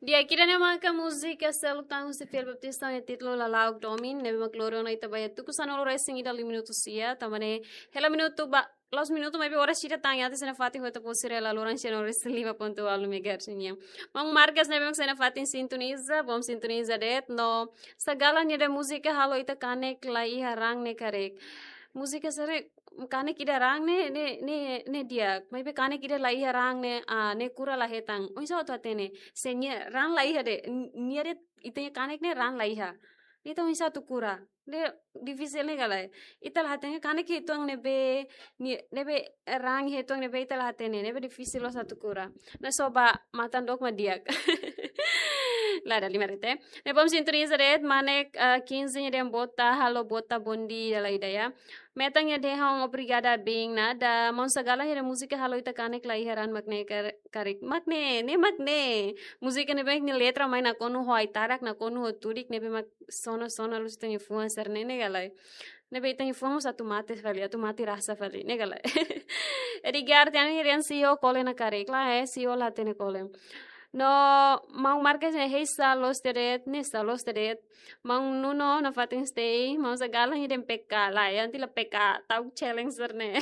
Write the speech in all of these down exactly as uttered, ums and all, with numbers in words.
Di'ak, ida-ne'e maka múzika seluk tan husi Filipe Baptista nia títulu Lala'ok Domin, ne'ebé mak lori ona ita ba iha tuku sanulu-resin-ida liu minutu sia, tanba ne'e hela minutu ba, la'ós minutu maibé oras ida tan iha ita sei nafatin ho ita-boot sira iha loron sanulu-resin-lima pontu ualu megahertz nian. Maun Marcas ne'ebé mak sei nafatin sintoniza, bom sintoniza de'it, no Sagalan nia dehan múzika halo ita kanek la iha raan ne'e karik. Múzika sira kanek ida raan ne'e, ne'e, ne'e, ne'e di'ak. Maibé kanek ida la iha raan ne'e, ah, ne'e kura la hetan. Oinsá atu hatene? Se nia raan la iha de'it, n-, nia de'it ita-nia kanek ne'e raan la iha. Ita oinsá atu kura? Ne'e difisil ne'e ka lae. Ita la hatene kanek uitoan ne'ebé, nia, ne'ebé raan uitoan ne'ebé ita la hatene, ne'ebé difisil loos atu kura. Ne'e só ba matan dook mak di'ak. La dala ruma de'it. Ne'e bom sintoniza de'it, Manek, ah, kinze nia dehan bota, halo bota, bom dia, dala ida ya. Metan nia dehan obrigada, bin nada. Maun Sagalan nia dehan múzika halo ita kanek la iha raan mak ne'e kar-, karik. Mak ne'e, ne'e mak ne'e. Múzika ne'ebé nia letra mai nakonu ho ai-tarak, nakonu ho tudik, ne'ebé mak sona-sona lus ita-nia fuan sira-ne'e, ne'e ka lae. Ne'ebé ita-nia fuan mós atu mate fali, atu mate rasa fali, ne'e ka lae. Edgar Tiano nia dehan CEO kole ona karik, lae, CEO la hatene kole. No, Maun Marcas nia dehan, "Hei, sá loos tiha de'it, ne'e sá loos tiha de'it." Maun Nuno nafatin stay, Maun Sagalan nia dehan peka, lae, iha ita la peka, ta'uk challenge sira-ne'e.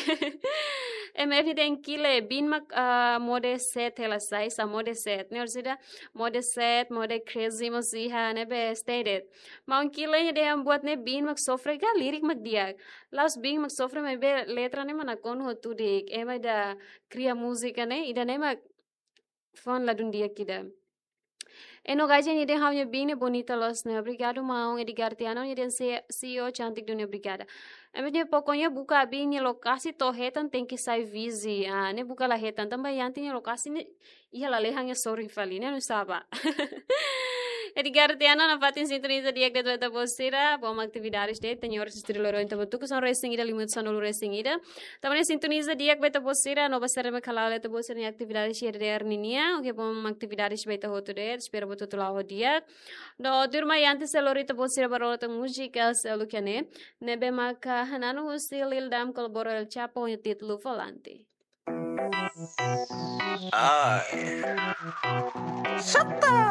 M F nia dehan kile, bin mak, ah, mode set hela sai, sá mode set. Ne'e orsida mode set, mode crazy mós iha, ne'ebé stay de'it. Maun Kile nia dehan buat ne'e bin mak sofre ka lirik mak di'ak. La'ós bin mak sofre maibé letra ne'e mak nakonu ho tudik. Ema ida kria múzika ne'e, ida-ne'e mak fuan ladún di'ak ida. Eno Gaja nia dehan ha'u-nia bin ne'e bonita loos ne'e. Obrigadu, maun. Edgar Tiano nia dehan se-, CEO cantik dunia, obrigada. Ema nia pokoknya buka bin nia lokasi to'o hetan tenke sai vizi. Ah, ne'e buka la hetan. Tanba iha ita-nia lokasi ne'e iha lalehan iha sorin fali, ne'e nu'usá bá. Edgar Tiano nafatin sintoniza di'ak de'it ba ita-boot sira, bom atividades de'it, tenke oras estúdiu loron ita ba tuku sanulu-resin-ida, liu minutu sanulu-resin-ida. Tanba ne'e sintoniza di'ak ba ita-boot sira, no ba sira mak hala'o ita-boot sira-nia atividades iha R D R ninia, oke, bom atividades ba ita hotu de'it, espera ba ita hotu la'o di'ak. No tuirmai antes sei lori ita-boot sira ba rona tan múzika seluk iha ne'e, ne'ebé maka hananu husi Lil Dam kolabora El Chapo nia títulu Volante. Ai. Sata.